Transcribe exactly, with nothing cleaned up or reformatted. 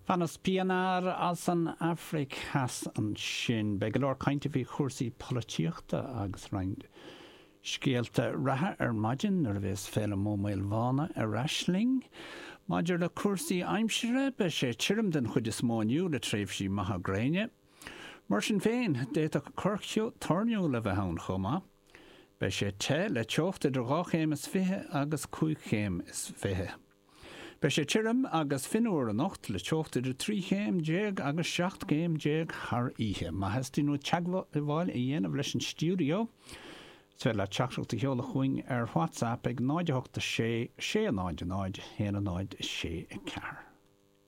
Panos Pienaar as an Afraic Theas ansin. Beidh go leor cainte faoi chúrsaí polaitíochta agus roinnt scéalta reatha ar maidin nuair a bheas Féilim Ó Maolmhána ar ais linn. Maidir le cúrsaí aimsire, beidh sé tirim den chuid is mó inniu le tréimhsí maithe gréine. Mar sin féin, d'fhéadfadh corrcheo toirniúil a bheith ann chomh maith. Beidh sé te le teocht idir dhá chéim is fiche agus cúig chéim is fiche. Beidh sé tirim agus fionnuar anocht le teocht idir trí chéim déag agus seacht gcéim déag thar oíche. Má theastaíonn uait teagmháil a dhéanamh leis an stiúideo, is féidir leat teachtaireacht a sheoladh chugainn ar WhatsApp ag náid a hocht a sé sé náid náid haon náid sé ceathair.